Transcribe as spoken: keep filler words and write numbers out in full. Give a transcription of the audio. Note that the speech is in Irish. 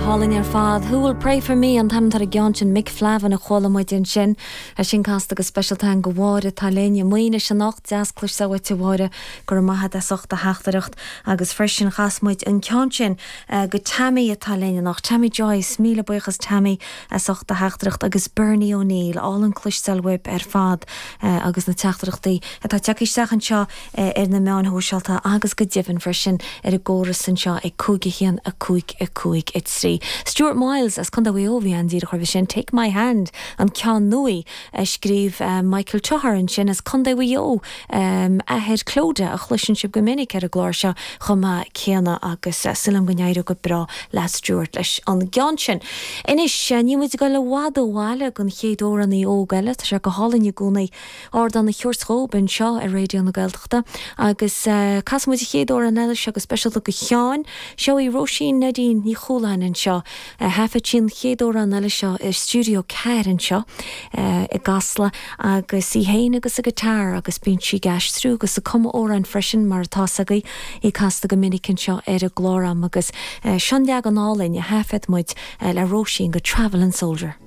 Hálainn ar fad. Who will pray for me an t-ainm ar an gceann sin Mick Flavin a chuala muid ansin é sin casta go speisialta do Mháire atá linn i Maínis anocht deas cloisteáil uait a Mháire go raibh maith agat as ucht do theachtaireacht agus freisin chas muid an ceann sin uh, go Tammy atá linn anocht Tammy Joyce míle buíochas Tammy as ucht do theachtaireacht agus Bernie O'Neill álainn cloisteáil uaibh ar fad uh, agus na teachtaireachtaí atá tagtha isteach anseo uh, ar na meáin shóisialta agus go deimhin freisin ar an gcóras anseo ag cúig a haon a cúig a cúig a trí. Stuart Miles as Contae Mhaigh Eo bhí an díreach roimhe sin Take My Hand an ceann nua a scríobh uh, Michael Toher ansin as Contae Mhaigh Eo um, athair Clodagh a chloiseann sibh go minic ar an gclár seo chomh maith céanna agus uh, sílim go n-éireoidh go breá le Stuart leis an gceann sin. Anois níl muid ag dul i bhfad ó bhaile don chéad amhránaí óg eile tá sé go hálainn i gcónaí ardán a thabhairt dóibh anseo ar Raidió na Gaeltachta agus uh, casfaidh muid an chéad amhrán eile seo go speisialta do Sheán seo í Róisín Neidín Ní Chualáin anseo thaifead sí an chéad amhrán eile seo i stiúideo ceathair anseo i gCasla agus í féin agus a guitar agus bíonn sí ag aistriú agus ag cumadh amhrán freisin mar atá agaibh í casta go minic anseo ar an gclár am agus uh, sin leagan álainn a thaifead muid uh, le Róisín go Travelling Soldier.